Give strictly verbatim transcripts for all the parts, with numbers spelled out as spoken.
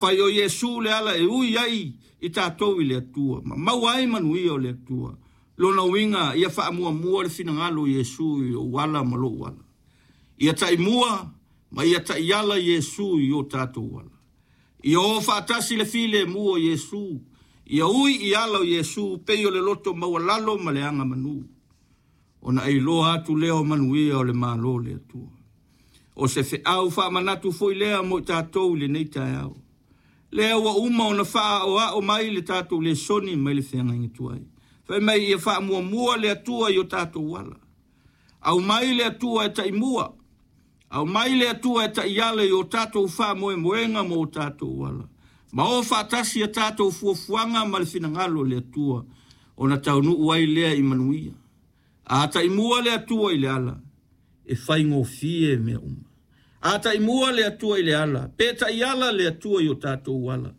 Fai o Iesu le ala e ui ai i tatou i le Atua, ma maua ai manuia o le Atua. Lona uiga ia faamuamua le finagalo o Iesu i ou ala ma lou ala. Ia taimua ma ia taiala Iesu i o tatou ala. Ia o faatasi le filemu o Iesu, ia ui i ala o Iesu pei o le loto maualalo ma le agamanu. Ona ailoa atu lea o manuia o le Malo o le Atua. O se feau faamanatu foi lea mo i tatou i lenei taeao. Lea ua uma ona faaoao mai le tatou lesoni mai le feagaiga tuai. Fai mai ia faamuamua le Atua i o tatou ala. Aumai le Atua e taimua. Aumai le Atua e taiala i o tatou faamoemoega ma o tatou ala. Ma o faatasi a tatou fuafuaga ma le finagalo o le Atua, ona taunuu ai lea i manuia. A taimua le Atua i le ala, e faigofie mea uma. A taimua le Atua i le ala, pe taiala le Atua i o tatou ala,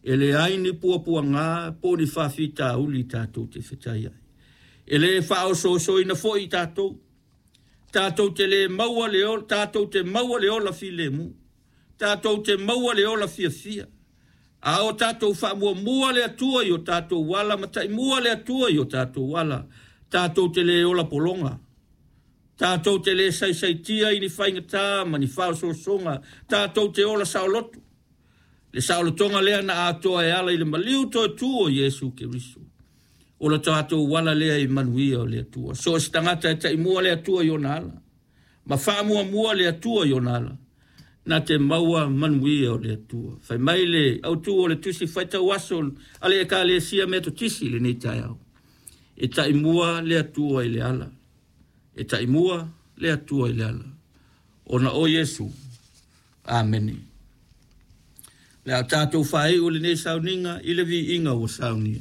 e leai ni puapuaga po o ni faafitauli tatou te fetai ai. E le faaosoosoina foi i tatou. Tatou te le maua le ola, tatou te maua le ola filemu. Tatou te maua le ola fiafia. A o tatou faamuamua le Atua i o tatou ala, ma taimua le Atua i o tatou ala, tatou te le ola pologa. Tatou te le saisaitia i ni faigata ma ni faaosoosoga, tatou te ola saoloto. Le saolotoga lea na atoa e ala i le maliu toe tu o Iesu Keriso. O le tatou ala lea i manuia o le Atua. So o se tagata e taimua le Atua i ona ala, ma faamuamua le Atua i ona ala, na te maua manuia o le Atua. Fai mai le autu o le tusi faitau aso a le Ekalesia Metotisi i lenei taeao. E taimua le Atua i le ala. E taimua le Atua i le ala. Ona o Iesu. Amene. Le a tatou faaiu lenei sauniga i le viiga ua saunia.